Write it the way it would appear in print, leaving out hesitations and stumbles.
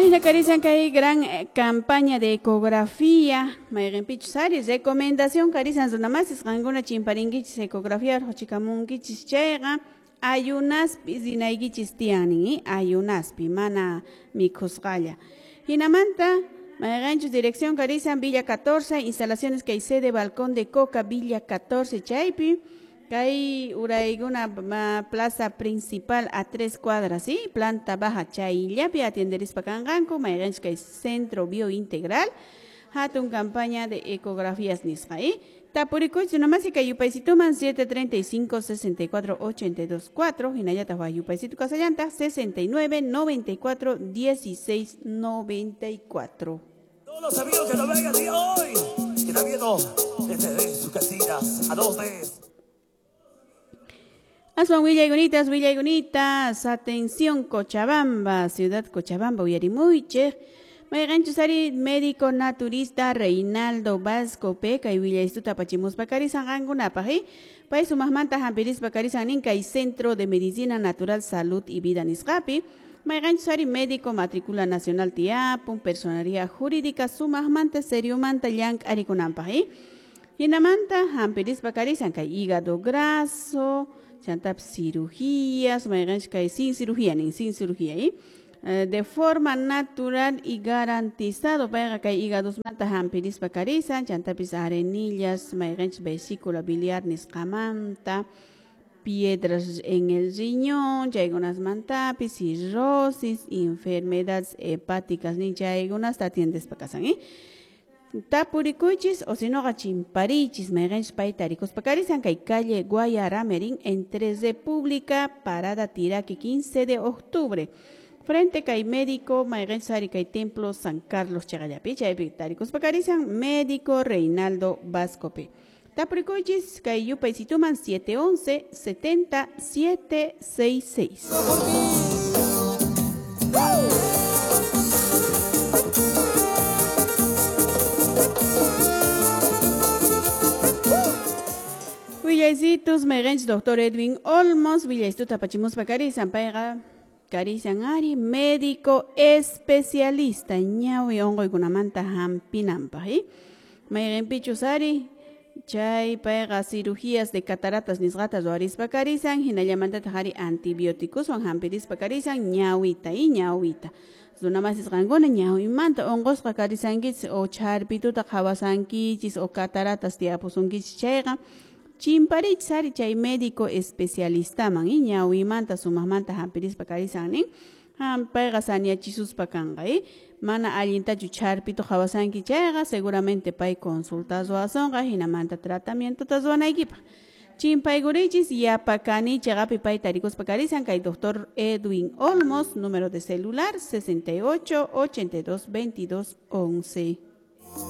Wahina karisan kay gran campaña de ecografía, mayqinpichus ari recomendación karisan runamasis qankuna chimparinkichis ecografía rhuchikamunkichis chayqa ayunaspi rinaykichis tiyan, ayunaspi mana mikhusqalla. Hinamanta mayqinchus dirección karisan Villa 14, instalaciones kay sede Balcón de Coca Villa 14 chaypi. Kay urayguna plaza principal a 3 cuadras, ¿sí? Planta baja chayllapi atienderispa kanqanku, mayqinchus kay Centro Biointegral, hatun campaña de ecografías nisqa, ¿eh? Tapurikuychis nomás y kay yupaysituman 735 64 82 4, hinallataq waj yupaysitu kasallantaq 69 94 16 94. Todos los amigos que nos ven el día hoy, que están viendo desde sus casitas, a 2D. Aswan willaygunitas, willaygunitas, atención Cochabamba, ciudad Cochabamba, uyarimuychik. Mayqinchus ari médico naturista Reinaldo Vasco P, kay willaystuta apachimuspa karisan qankunapaq, ¿eh? Pay sumaqmanta hampirispa karisan nin kay Centro de Medicina Natural Salud y Vida nisqapi. Mayqinchus ari médico matrícula nacional tiapun, personería jurídica sumaqmanta seriomanta llank'arikunanpaq, ¿eh? Hinamanta hampirispa karisan kay hígado graso, chantap cirugías, mayqinchus kay sin cirugía nin, sin cirugía, ¿eh? De forma natural y garantizado payqa kay hígadosmanta hampirispa karisan, chantapis arenillas, mayqinchus vesícula biliar nisqamanta, piedras en el riñón, chaykunasmantapis, cirrosis, enfermedades hepáticas nin chaykunasta atiendespa kasan, ¿eh? Tapurikuychis o si noqa chimparichis mayqinchus payta tarikuspa karisan kay calle Guayaramerín entre República, Parada Tiraque 15 de octubre. Frente kay médico mayqinchus ari kay Templo San Carlos chaqallapi chaypi tarikuspa karisan médico Reinaldo Vasco P. Tapurikuychis kay yupaysituman 711 70 766. Willaysitus, mayqinchus doctor Edwin Olmos, willaystuta apachimuspa karisan, payqa karisan ari médico especialista ñawi unquykunamanta hampinanpaq, ¿eh? Mayqinpichus ari chay payqa cirugías de cataratas nisqata ruwarispa karisan, hinallamantataq ari antibióticoswan hampirispa karisan ñawita, ¿eh? Ñawita. Runamasis qankuna ñawimanta unqusqa karisankichis o charpituta qhawasankichis o cataratas tiyapusunkichis chayqa chimparichis ari chay médico especialistaman, ¿eh? Ñawimanta sumaqmanta hampirispa karisan nin, payqa saniachisuspa kanqa, ¿eh? Mana allintachu charpito qhawasanki chayqa seguramente pay consulta ruwasunqa hinamanta tratamientota ruwanaykipaq. Chimpaykurichis yapakani chaqapi pay tarikuspa karisan kay doctor Edwin Olmos, número de celular 68 82 22 11.